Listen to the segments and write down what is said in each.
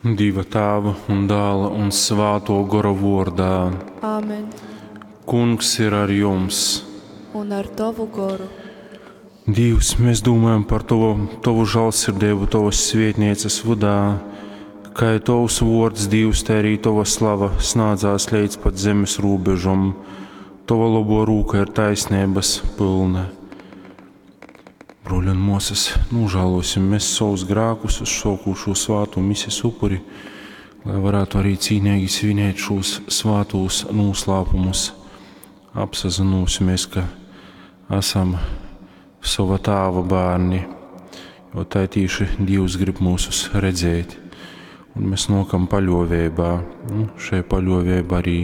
Dieva Tēva un Dēla un Svāto Gora vārdā. Āmen. Kungs ir ar jums. Un ar tavu goru. Dievs, mēs domājam par tovu, tovu žēlsirdību, tavas svētnīcas vydā, kā tavs vārds, Dievs, tā arī tava slava snādzās līdz pat zemes robežom. Tava labo rūka ir taisnības pilna. Broļi un māsas, nožēlosim mēs savus grēkus uz šokūšo svātu mises upuri, lai varētu arī cīnīgi svinēt šos svātos noslēpumus. Apsazinosimies, ka esam sava tāva bērni, jo tā tīši Dievs grib mūsus redzēt. Un mēs nokam paļovībā. Nu, šai paļovēba arī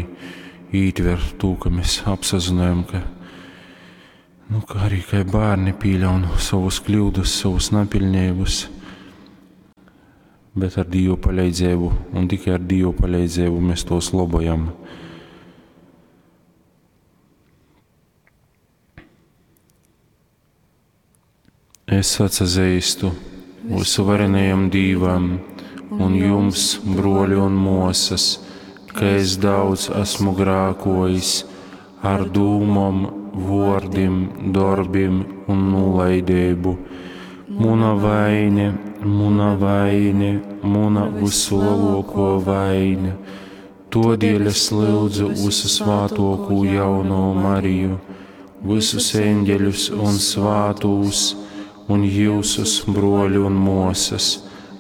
ītver to, ka mēs apsazinājam, ka Nu, kā arī kā bērni pieļaun savus kļūdas, savus nepilnības, bet ar Dievu palīdzību un tikai ar Dievu palīdzību mēs tos labojam. Es atsazīstu visuvarenajam Dīvam un jums, broļi un mosas, ka es daudz esmu grākojis ar dūmom, vārdiem, darbiem un nolaidību. Muna vaine, muna vaine, muna vislielāko vaine. Todēļ es lūdzu visu svātoko jauno Mariju, visus eņģeļus un svātūs, un jūsus broļu un mosas,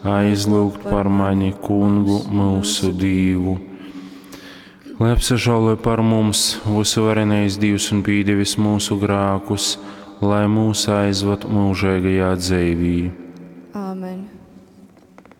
aizlūgt par mani kungu mūsu Dīvu. Lai apsažāloja par mums visuvarenais Dievs un pīdevis mūsu grākus, lai mūs aizvad mūžīgajā dzīvī.